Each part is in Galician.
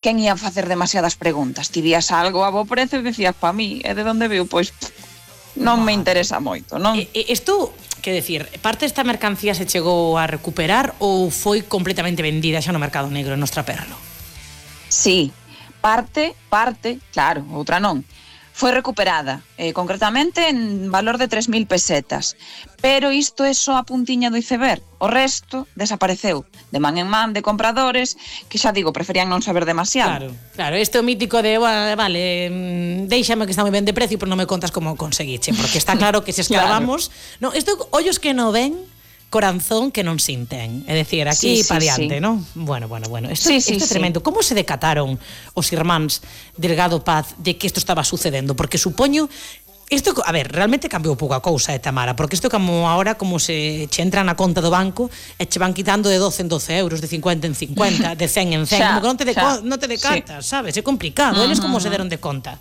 quen ia facer demasiadas preguntas. Ti vías algo a bo prezo e decías, pa mí, e de onde veu? Pois non me interesa moito, non? Isto, que decir, parte desta mercancía se chegou a recuperar ou foi completamente vendida xa no mercado negro en Nostraperlo? Sí, parte, claro, outra non. Foi recuperada, concretamente en valor de 3.000 pesetas. Pero isto é só a puntiña do iceberg. O resto desapareceu de man en man de compradores que, xa digo, preferían non saber demasiado. Claro, este é o mítico de, vale, déixame que está moi ben de precio, pero non me contas como conseguiche, porque está claro que se esclavamos. Claro. No, isto, ollos que non ven, corazón que non sinten. É dicir, aquí pa diante, non? Bueno. Isto é tremendo. Como se decataron os irmáns Delgado Paz de que isto estaba sucedendo? Porque supoño... Isto, a ver, realmente cambiou pouco a cousa, Tamara, porque isto como ahora como se che entra na conta do banco e che van quitando de 12 en 12 euros, de 50 en 50, de 100 en 100, como que non te decatas, sabes? É complicado. Eles como se deron de conta?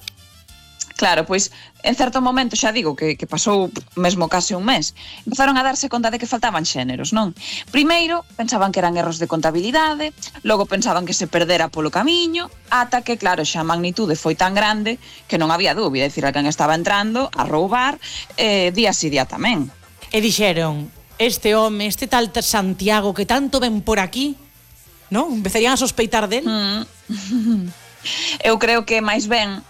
Claro, pois, en certo momento, xa digo, que pasou mesmo case un mes, empezaron a darse conta de que faltaban xéneros, non? Primeiro, pensaban que eran erros de contabilidade, logo pensaban que se perdera polo camiño, ata que, claro, xa a magnitude foi tan grande que non había dúbida, é dicir, a quen estaba entrando a roubar día si día tamén. E dixeron, este home, este tal Santiago que tanto ven por aquí, non? Empezarían a sospeitar del? Eu creo que máis ben,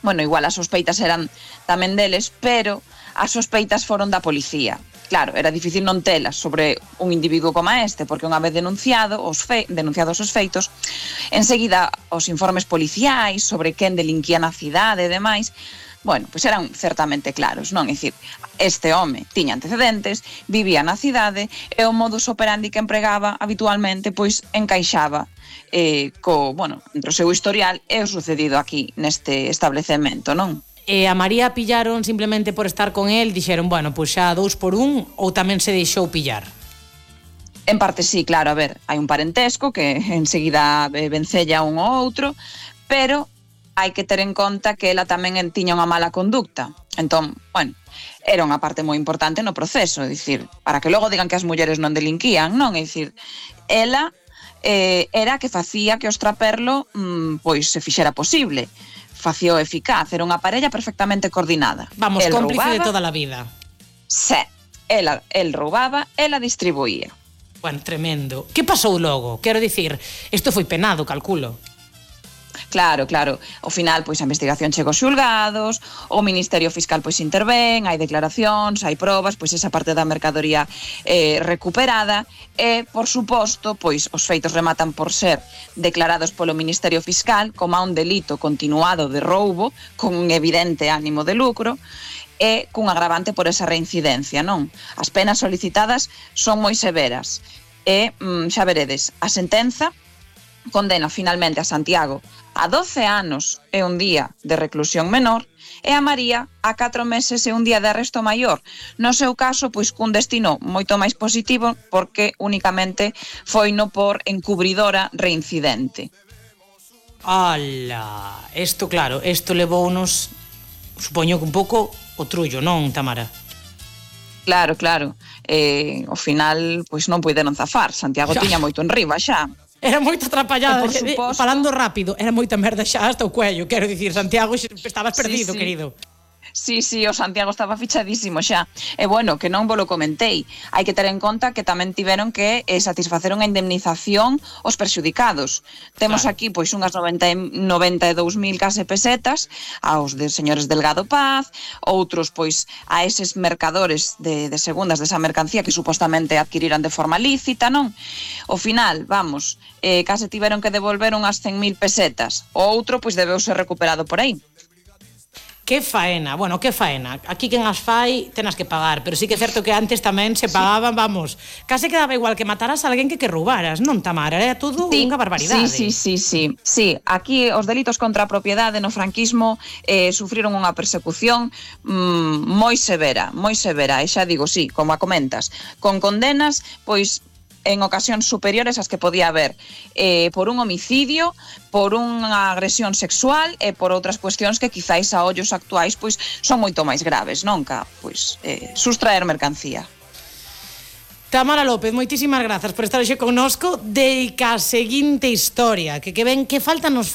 bueno, igual as sospeitas eran tamén deles, pero as sospeitas foron da policía. Claro, era difícil non telas sobre un individuo como este, porque unha vez denunciados os feitos, enseguida os informes policiais sobre quen delinquía na cidade e demais, bueno, pois eran certamente claros, non? É dicir, este home tiña antecedentes, vivía na cidade e o modus operandi que empregaba habitualmente pois encaixaba entre o seu historial e o sucedido aquí neste establecemento, non? E a María pillaron simplemente por estar con el, dixeron, bueno, pois xa 2 por 1 ou tamén se deixou pillar? En parte sí, claro, a ver, hai un parentesco que enseguida vencella un ou outro, pero hai que ter en conta que ela tamén tiña unha mala conducta. Entón, bueno, era unha parte moi importante no proceso, é dicir, para que logo digan que as mulleres non delinquían, non? É dicir, ela era que facía que o Nostraperlo pois se fixera posible, facía eficaz, era unha parella perfectamente coordinada. Vamos, cómplice de toda a vida. Sí, el roubaba, ela distribuía. Bueno, tremendo. Que pasou logo? Quero dicir, isto foi penado, calculo. Claro. Ao final, pois, a investigación chega aos xulgados, o Ministerio Fiscal, pois, intervén, hai declaracións, hai probas, pois, esa parte da mercadoría recuperada e, por suposto, pois, os feitos rematan por ser declarados polo Ministerio Fiscal como un delito continuado de roubo con un evidente ánimo de lucro e cun agravante por esa reincidencia, non? As penas solicitadas son moi severas e, xa veredes, a sentenza condena finalmente a Santiago a 12 anos e un día de reclusión menor e a María a 4 meses e un día de arresto maior. No seu caso, pois cun destino moito máis positivo porque únicamente foi no por encubridora reincidente. Ala, isto claro, isto levounos, supoño que un pouco o trullo, non, Tamara? Claro. Ao final, pois non puideron zafar. Santiago tiña moito enriba xa. Era moito atrapallada, falando rápido, era moita merda xa hasta o cuello, quero dicir, Santiago, estabas perdido, sí. Querido. Sí, o Santiago estaba fichadísimo xa. E bueno, que non vos lo comentei. Hai que ter en conta que tamén tiveron que satisfacer unha indemnización aos perxudicados. Temos aquí pois unhas 92.000 case pesetas aos de señores Delgado Paz, outros pois a eses mercadores de segundas desa mercancía que supostamente adquiriran de forma lícita, non? Ao final, vamos, case tiveron que devolver unhas 100.000 pesetas. O outro pois debeu ser recuperado por aí. Que faena, bueno, que faena. Aquí quen as fai, tenas que pagar, pero sí que é certo que antes tamén se pagaban, vamos, case quedaba igual que mataras a alguén que roubaras, non, Tamara? Era todo unha barbaridade. Sí, aquí os delitos contra a propiedade no franquismo sufriron unha persecución moi severa, e xa digo, sí, como a comentas, con condenas, pois, en ocasións superiores ás que podía haber por un homicidio, por unha agresión sexual e por outras cuestións que quizáis a ollos actuais pois son moito máis graves, non? Pois sustraer mercancía. Tamara López, moitísimas grazas por estar hoxe connosco. Deica a seguinte historia, que ven que falta nos